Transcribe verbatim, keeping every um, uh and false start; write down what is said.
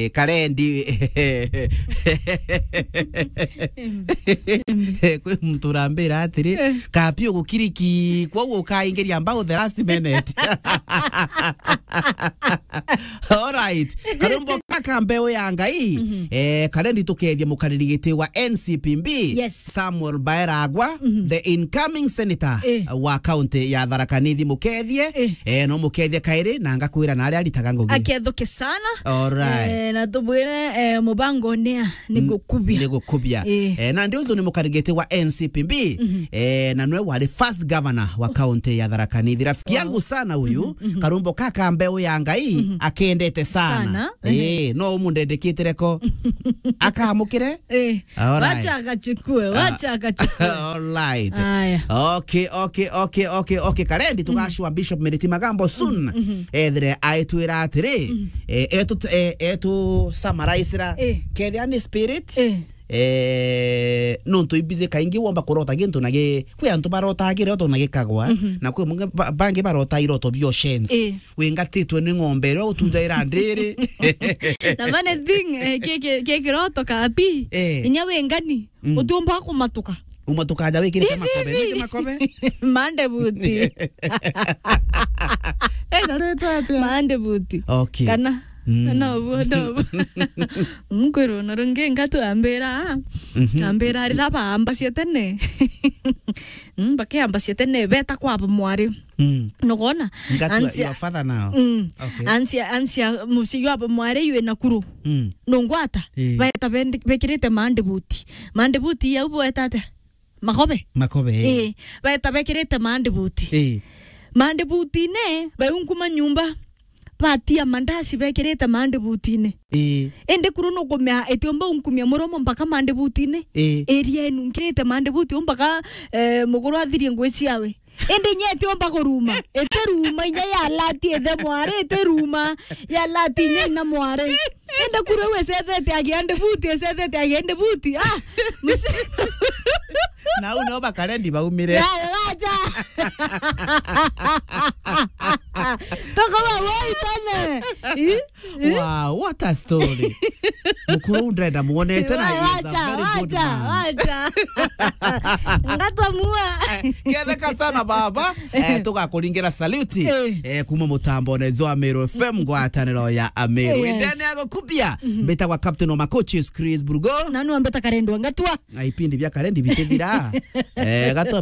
Karendi. Kwi muntu urambira atiri, "Kapi ugukiriki, kwou ukaingiria mbau the last minute." All right. Karumbo kaka mbeu ya Ngai, eh, Karendi tukethie mukariri giti wa N C P B, Yes. Samuel Baeragwa, the incoming senator Eh. wa county ya Tharaka Nithi, mukethie, Eh. eh, no mukethie kairi, na ngakwira na aria aritaga ngugi. Akethuke sana. All right. Eh, na tubwire, eh, mubango nia ni gukubia. Ni gukubia. Eh. Eh, na ndio uzo ni mukarigite wa N C P B, eh, na nwe wari first governor wa county ya Tharaka Nithi. Rafiki yangu sana huyu, Karumbo kaka mbeu ya Ngai, akendete sana. Sana. Eh, no umundendekitire ko. Akamukire? Eh. All right. Wacha akachukue, wacha akachukue. All right. Aya. Okay, okay, okay, okay, okay. Karendi tugashwa Bishop Meriti Magambo soon. Ethire aitwira atiri, eh, etu, eh, etu summarize ra. Eh. Kethia ni spirit. Eh. Eh, nontu ibizi kaingi womba kurota gintu na gi-, kwi antu barotaga kiroto na gikagwa, na kwi mungi ba-, bangi barota iroto bio shenzi. Eh. Wingatitwe ni ng'ombe iria utunjaira ndiri. Na funny thing, eh, ki, ki, ki kiroto kapi, Eh. inya wingani, Mm. utiumba kumatuka. Umatuka aja wikirite Hivi, makobe, hivi. Niki makobe? Mande buti. Eh, nareta atia? Mande buti. Okay. Kana? Mm. No, no. Nkwirwo na rungi ngatu ambira, Mhm. ambira rira baambacia tene. Mm, bakiambacia tene, beta kwa mwari. Mm. Nugona? Ngatu Ansia your father now. Mm. Okay. Ansia, ansia mucii jwa mwari yu ina kuru. Mm. Nungwata? Eh. Baeta bendi-, bekirite mandibuti. Mandibuti yau bweta atia? Makobe? Makobe, eh. Eh. Baeta bekirite mandibuti. Eh. Mandibutine, baiunkuma nyumba. Batia mandaci bekirite mandibutine. Eh. Indi kuru nukumea itiumba unkumia muromo mpaka mandibutine. Eh. Iria inunkirite mandibuti mpaka, eh, muguru athirie ngui ciawe. Indi inya itiumba kuruma. Itiruma inya yalati ithe mwari, itiruma. Yalati inya ina mwari. Indi kuru iu icethete agia ndibuti, icethete agia ndibuti. Ah, msi- Na u no bakarendi baumire. Ya, wacha. Toka wa woi tone. Ih? Wow, what a story. Mukuru u ndrenda muonete na he is a Wacha, very good wacha, man. Wacha. Ngatwa mua. Eh, ketheka sana baba. Eh, tugakuringira salute. Eh. Eh, kuma mutambo na Zoa Meru F M, ngwataniro ya Ameru. Yes. Ndene ya gukubia. Mbitagwa Captain wa Makochi, Chris Burgo. Na nu ambeta karendwa ngatwa. Na ipindi bia karendi bitithira. Eh, gatombe